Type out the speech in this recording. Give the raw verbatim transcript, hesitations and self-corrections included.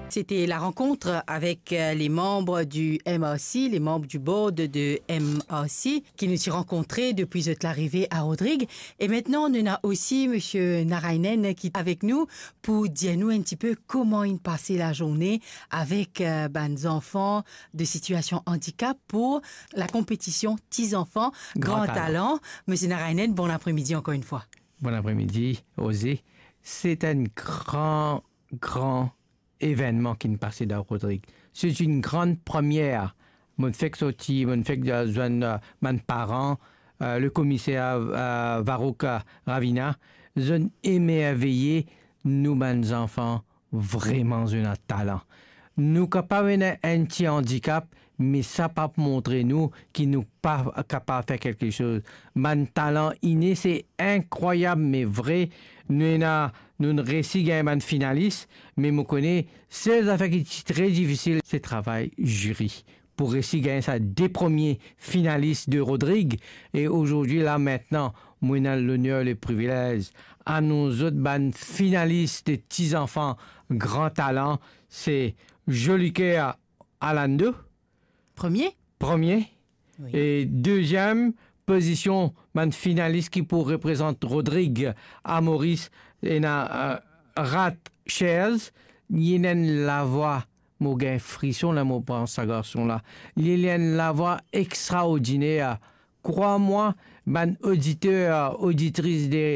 C'était la rencontre avec euh, les membres du M R C, les membres du board de M R C, ki nou ti rankontre depi zot larive a Rodrig. E mintnan, nou ena osi Msye Narainen ki avek nou pou dir nou enn tipe kouma inn pase lazourne avek euh, bann zanfan de sitiasion andikap pou la konpetision Ti Zanfan Gran Talan. Msye Narainen, bon apremidi ankor enn fwa. Bon apremidi, Rosie. Se enn gran, gran evennman ki'nn pase dan Rodrig. Se enn gran premie. Mo'nn fek sorti, mo'nn fek zwenn euh, bann paran, euh, le komiser euh, Varouk euh, Ravina, zot emerveye. Nou bann zanfan, vreman zot ena talan. Nou kapav ena enn ti andikap, me sa pa pou montre nou ki nou pa kapav fer kelke soz. Bann talan ine, se inkrwayab, me vre. Nou ena, nou resi gagn bann finalis, me mo kone sel zafer ki ti tre difisil, se travay ziri pou resi gagn sa de premie finalis de Rodrig. E azordi la, mintnan, mo ena loner, le privilez anons zot bann finalis de Ti Zanfan Gran Talan. Se Joliker Alando, premie. Premie. Wi. E deziem pozision, bann finalis ki pou reprezant Rodrig a Moris, ena euh, Rat Shares. Li ena enn lavwa, mo gagn frison la mo pran sa garson la. Li ena enn lavwa extraordiner. Krwar mwa, bann oditer, oditris de